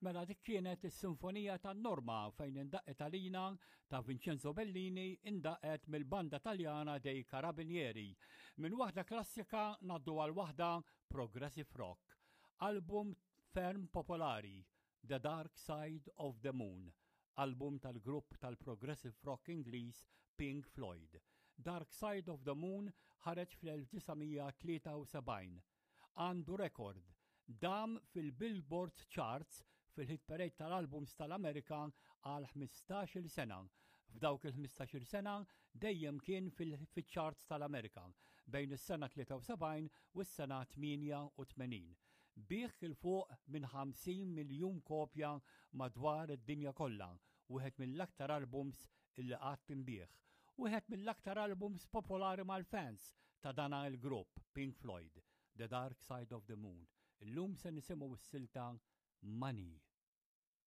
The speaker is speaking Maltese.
Mela dik kienet is-Sinfonija tan-Norma fejn indaqqet għalina ta' Vincenzo Bellini indaqqet mill-banda Taljana dei Carabinieri. Minn waħda klassika ngħaddu għal waħda progressive rock. Album ferm popolari, The Dark Side of the Moon, album tal-grupp tal-progressive rock Ingliż Pink Floyd. Dark Side of the Moon ħareġ fl-1973. Għandu rekord. Dam fil-Billboard Charts fil-hit parade tal-albums tal-Amerika għal 15-il sena. F'dawk il-15-il sena dejjem kien fil-charts tal-Amerika bejn is-sena 73 u s-sena 88. Biegħ 'il fuq minn 50 miljun kopja madwar id-dinja kollha, wieħed mill-aktar albums illi qatt inbiegħ. Wieħed mill-aktar albums popolari mal-fans ta' dana il-grupp, Pink Floyd, The Dark Side of the Moon. Illum se nisimgħu s-silta Money.